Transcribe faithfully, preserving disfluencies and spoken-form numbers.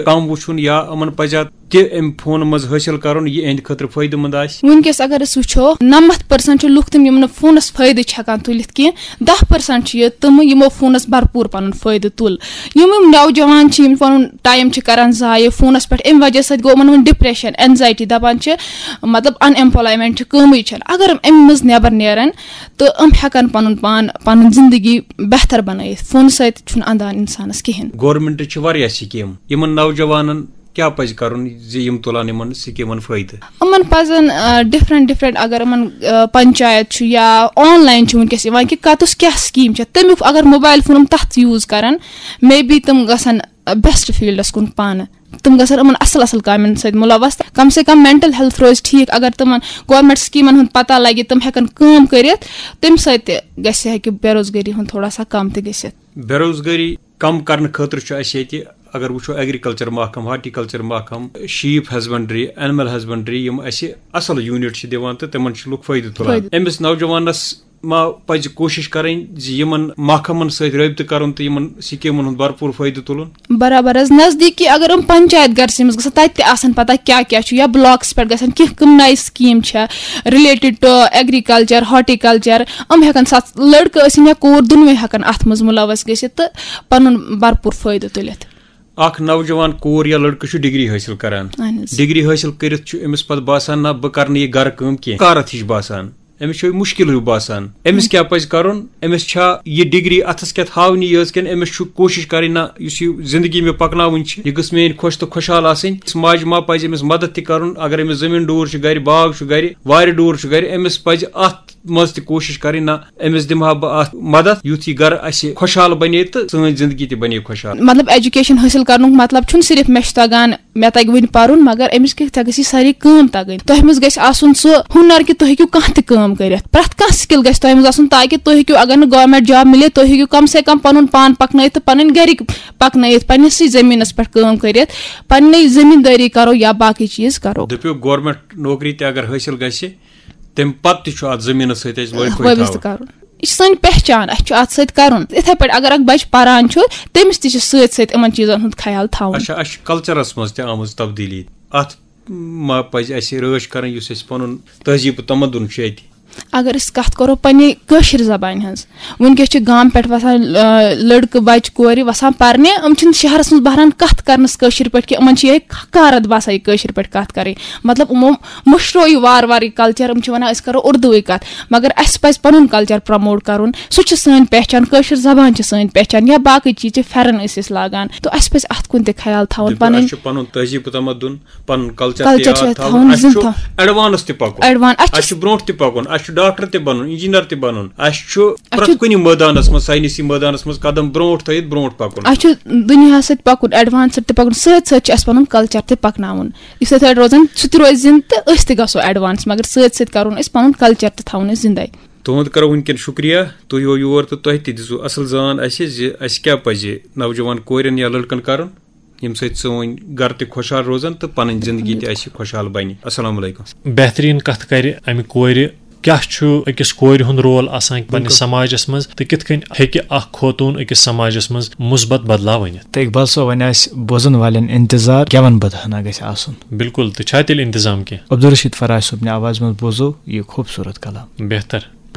کم وٕچھُن یا یِمن پزِ تہِ امہِ فونہٕ منٛز حٲصِل کرُن، یہِ اِہِنٛدِ خٲطرٕ فٲیدٕ مند آسہِ؟ وٕنکیٚس اگر أسۍ وٕچھو، نَمَتھ پٔرسَنٹ چھِ لُکھ تِم، یِم نہٕ فونَس فٲیدٕ چھِ ہٮ۪کان تُلِتھ کینٛہہ۔ دَہ پٔرسَنٹ چھِ یہِ تِم، یِمو فونَس بھرپوٗر پَنُن فٲیدٕ تُل۔ یِم یِم نوجوان چھِ، یِم پَنُن ٹایم چھِ کَران ضایع فونَس پٮ۪ٹھ، اَمہِ وجہ سۭتۍ گوٚو یِمَن وۄنۍ ڈِپریشَن، اینزایٹی، دَپان چھِ، مطلب، اَن ایمپلایمینٹ چھِ، کٲمٕے چھَنہٕ۔ اگر یِم اَمہِ منٛز نٮ۪بَر نیرَن تہٕ یِم ہٮ۪کَن پَنُن پان، پَنٕنۍ زِندگی بہتر بَنٲیِتھ، فونہٕ سۭتۍ چھُنہٕ اَندان اِنسانَس کِہیٖنۍ۔ گورمنٹٕچ چھِ واریاہ سکیٖم، یِمن نوجوانن کیٛاہ پزِ کرُن زِ یِم تُلن یِمن سکیٖمن فٲیدٕ؟ یِمن پزن ڈفرنٹ ڈفرنٹ، اگر یِمن آ، پنچایت چھُ یا آن لاین چھُ وٕنکیٚس یِوان کہِ کتُس کیٛاہ سکیٖم چھےٚ، تمیُک اگر موبایل فون یِم تتھ یوٗز کرن، مے بی تِم گژھن بیسٹ فیٖلڈس کُن پانہٕ۔ تِم گژھن یِمن اصل اصل کامٮ۪ن سۭتۍ مُلوث، کم سے کم مینٹل ہیلتھ روزِ ٹھیٖک۔ اگر تِمن گورمنٹ سکیٖمن ہُنٛد پتہ لگہِ، تِم ہٮ۪کن کٲم کٔرِتھ، تمہِ سۭتۍ تہِ گژھِ، ہیٚکہِ بے روزگٲری ہُنٛد تھوڑا سا کم تہِ گٔژھِتھ۔ بے روزگٲری کم کرنہٕ خٲطرٕ چھُ اَسہِ ییٚتہِ، اگر وٕچھو، ایگریکلچر محکمہٕ، ہارٹیکلچر محکمہٕ، شیپ ہسبنڈری، اینیمل ہسبنڈری، یِم اَسہِ اَصٕل یوٗنٹ چھِ دِوان تہٕ تِمن چھِ لُکھ فٲیدٕ تُلان۔ فٲیدٕ۔ أمِس نوجوانس ما پزِ کوٗشِش کرٕنۍ زِ یِمن محکمن سۭتۍ رٲبطہٕ کرُن تہٕ یِمن سکیٖمن ہُنٛد بھرپوٗر فٲیدٕ تُلُن؟ برابر حظ، نزدیٖکی اگر یِم پنچایت گھر چھِ، أمِس گژھن تَتہِ تہِ آسٕنۍ پتہ کیٛاہ کیٛاہ چھُ، یا بلاکس پٮ۪ٹھ گژھن کینٛہہ کٕم نَیہِ سکیٖم چھےٚ related to agriculture, horticulture، یِم ہٮ۪کن سَتھ لڑکہٕ ٲسِن یا کوٗر، دۄنوَے ہٮ۪کن اَتھ منٛز مُلوث گٔژھِتھ تہٕ پَنُن بھرپوٗر فٲیدٕ تُلِتھ۔ اکھ نوجوان کوٗر یا لڑکہٕ چھُ ڈگری حٲصِل کران۔ اہن حظ۔ ڈگری حٲصِل کٔرِتھ چھُ أمِس پتہٕ باسان، نہ، بہٕ کرٕ نہٕ یہِ گرٕ کٲم کینٛہہ، کارتھ ہِش باسان۔ أمِس چھُ یہِ مُشکِل ہیوٗ باسان۔ أمِس کیٛاہ پزِ کرُن؟ أمِس چھا یہِ ڈگری اتھس کٮ۪تھ ہاونی یٲژ کِنہٕ أمِس چھُ کوٗشِش کرٕنۍ، نہ، یُس یہِ زندگی مےٚ پکناوٕنۍ چھِ، یہِ گٔژھ میٲنۍ خۄش تہٕ خۄشحال آسٕنۍ؟ أمِس ماجہِ ما پزِ أمِس مدد تہِ کرُن؟ اگر أمِس زٔمیٖن ڈوٗر چھُ گرِ، باغ چھُ گرِ، وارِ ڈوٗر چھُ گرِ، أمِس پزِ اتھ منٛز تہِ کوٗشِش کرٕنۍ، نہ، أمِس دِمہٕ ہا بہٕ اتھ مدد، یُتھ یہِ گرٕ اسہِ خۄشحال بنے تہٕ سٲنۍ زندگی تہِ بنے خۄشحال۔ مطلب، ایجوکیشن حٲصِل کرنُک مطلب چھُنہٕ صرف مےٚ چھُ تگان، مےٚ تگہِ وُنہِ پرُن، مگر أمِس کیٛاہ، ژےٚ گژھی ساری کٲم تگٕنۍ۔ تۄہہِ منٛز گژھِ آسُن سُہ ہُنر کہِ تُہۍ ہیٚکِو کانٛہہ تہِ کٲم کٔرِتھ۔ پرٛٮ۪تھ کانٛہہ سکل گژھِ تۄہہِ منٛز آسُن، تاکہِ تُہۍ ہیٚکِو، اگر نہٕ گورمنٹ جاب مِلہِ، تُہۍ ہیٚکِو کم سے کم پنُن پان پکنٲیِتھ تہٕ پنٕنۍ گرِکۍ پکنٲیِتھ، پننِسٕے زٔمیٖنس پٮ۪ٹھ کٲم کٔرِتھ، پننٕے زٔمیٖندٲری کرو یا باقٕے چیٖز کرو۔ دٔپِو، گورمنٹ نوکری تہِ اگر حٲصِل گژھِ، تمہِ پتہٕ تہِ چھُ اتھ زٔمیٖنس سۭتۍ اَسہِ وٲے فٲے وٲبستہٕ تھاوُن۔ کرُن۔ یہِ چھِ سٲنۍ پہچان، اَسہِ چھُ اَتھ سۭتۍ کَرُن۔ یِتھَے پٲٹھۍ اگر اَکھ بَچہٕ پَران چھُ، تٔمِس تہِ چھِ سۭتۍ سۭتۍ یِمَن چیٖزَن ہُنٛد خیال تھاوُن۔ اچھا، اَسہِ چھُ کلچرس منٛز تہِ آمٕژ تبدیٖلی۔ اتھ ما پزِ اَسہِ رٲچھ کرٕنۍ، یُس اَسہِ پنُن تہذیٖب و تمدُن چھُ اَتہِ؟ اگر أسۍ کَتھ کَرو پنٛنہِ کٲشِر زبانہِ ہٕنٛز، وٕنکیٚس چھِ گامہٕ پٮ۪ٹھ وَسان، آ، لٔڑکہٕ بَچہٕ کورِ وَسان پَرنہِ، یِم چھِنہٕ شہرَس منٛز بہران کَتھ کَرنَس کٲشِر پٲٹھۍ کینٛہہ، یِمَن چھِ یِہوٚے حقارت باسان یہِ کٲشِر پٲٹھۍ کَتھ کَرٕنۍ۔ مطلب، یِمو مٔشرو یہِ وارٕ وارٕ یہِ کلچر، یِم چھِ وَنان، أسۍ کَرو اُردوٕے کَتھ، مگر اَسہِ پَزِ پَنُن کلچر پرٛموٹ کَرُن۔ سُہ چھُ سٲنۍ پہچان، کٲشِر زبان چھِ سٲنۍ پہچان، یا باقٕے چیٖز چھِ، پھٮ۪رن ٲسۍ أسۍ لاگان، تہٕ اَسہِ پَزِ اَتھ کُن تہِ خیال تھاوُن۔ دٔپِو، پَنٕنۍ اَسہِ چھُ پَنُن تہذیٖب و تمدُن، پنُن کلچر تہِ کلچر چھُ یاد اَسہِ تھاوُن، تھاوُن، اَسہِ زِندٕ چھُ تھاوُن۔ ایڈوانس تہِ پَکُن۔ ایڈوان-، اَسہِ اَسہِ چھُ چھُ برونٛٹھ تہِ پَکُن، اَسہِ چھُ ڈاکٹر تہِ بَنُن، انجینئر تہِ بَنُن، اَسہِ چھُ اَسہِ پرٛٮ۪تھ چھُ کُنہِ مٲدانَس منٛز، ساینسی مٲدانَس منٛز قدم برونٛٹھ تھٲیِتھ برونٛٹھ پَکُن۔ اَسہِ چھُ دُنیاہَس سۭتۍ پَکُن، ایڈوانسٕڈ تہِ پَکُن، سۭتۍ سۭتۍ چھُ اَسہِ پَنُن کلچر تہِ پَکناوُن۔ یُس یِتھَے پٲٹھۍ روزان، سُہ تہِ روزِ زِندٕ تہٕ أسۍ تہِ گژھو ایڈوانس، مگر سۭتۍ سۭتۍ کَرُن أسۍ پَنُن کلچر تہِ تھاوُن أسۍ زِندَے۔ تُہُنٛد کَرو وٕنکٮ۪ن شُکریہ، تُہۍ یِیِو یور تہٕ تۄہہِ تہِ دِژوٕ اَصٕل زان اَسہِ زِ اَسہِ کیٛاہ پَزِ نوجوان کورٮ۪ن یا لٔڑکَن کَرُن، ییٚمہِ سۭتۍ سٲنۍ گَرٕ تہِ خۄشحال روزَن تہٕ پَنٕنۍ زِندگی تہِ اَسہِ خۄشحال بَنہِ۔ السلام علیکم۔ بہتریٖن کَتھ کَرِ اَمہِ کورِ۔ کیٛاہ چھُ أکِس کورِ ہُنٛد رول آسان پننِس بِلکُل۔ سماجس منٛز تہٕ کِتھ کٔنۍ ہیٚکہِ اکھ خوتوٗن أکِس سماجس منٛز مثبت بدلاو أنِتھ؟ تہٕ اقبال صٲب، وۄنۍ آسہِ بوزن والٮ۪ن انتظار، گٮ۪ون بدہنا گژھِ آسُن۔ بِلکُل، تہٕ چھا تیٚلہِ انتظام کینٛہہ؟ عبدالرشید فراز صٲبنہِ آوازِ منٛز بوزو یہِ خوٗبصوٗرت کلام۔ بہتر۔